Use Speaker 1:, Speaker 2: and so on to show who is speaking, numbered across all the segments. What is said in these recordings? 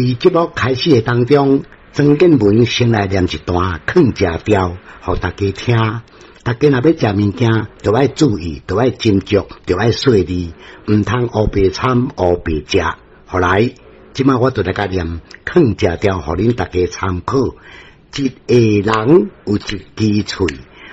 Speaker 1: 佇節目開始的當中，曾建文先來念一段囥食調，予大家聽。大家若欲食物件，著愛注意，著愛斟酌，著愛細膩，毋通烏白參烏白食。予來，這擺我就來共念囥食調，予恁大家參考。一个人有一支喙，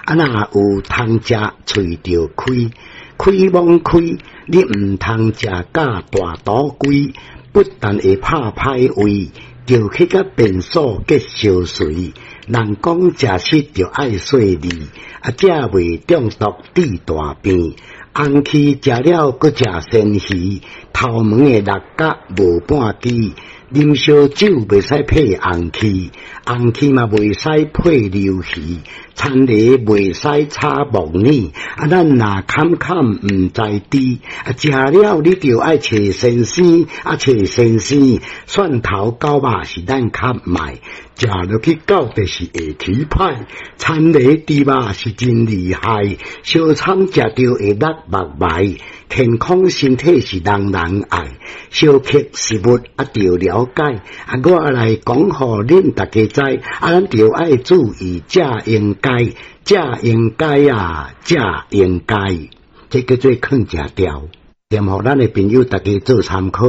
Speaker 1: 啊若有通食，喙就開，開罔開，你毋通食甲大肚規，不但會拍歹胃，著去共便所結相隨。人講食食著愛細膩，啊，才袂中毒治大病。紅蠵食了，閣食鮮魚，頭毛的六角無半支。啉燒酒袂使配紅蠵，紅蠵嘛袂使配鰇魚，田螺袂使炒木耳。啊，咱若坎坎毋知知，啊，食了你著愛揣先生，啊，揣先生，蒜頭絞肉是咱較賣，食落去到底是會起歹。田螺豬肉是真厲害，相參食著會落目眉。健康身體是人人愛，相克食物啊，著了解。啊，我來講予恁大家知，啊，咱著愛注意，才應該，才應該啊，才應該。這叫做囥食調，念予咱的朋友大家做參考。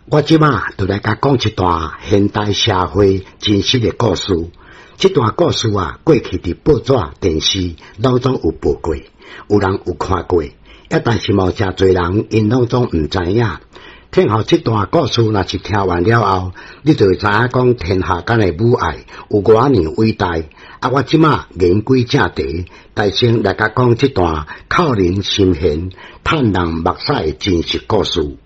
Speaker 1: 我這馬就來共講一段現代社會真實的故事。這段故事啊，過去佇報紙、電視攏總有報過，有人有看過，啊，但是嘛誠濟人𪜶攏總毋知影。聽予這段故事，若是聽完了後，你就會知影講天下間的母愛有偌爾偉大。啊，我這馬言歸正題，大先來共講這段扣人心弦、嘆人目屎的真實故事。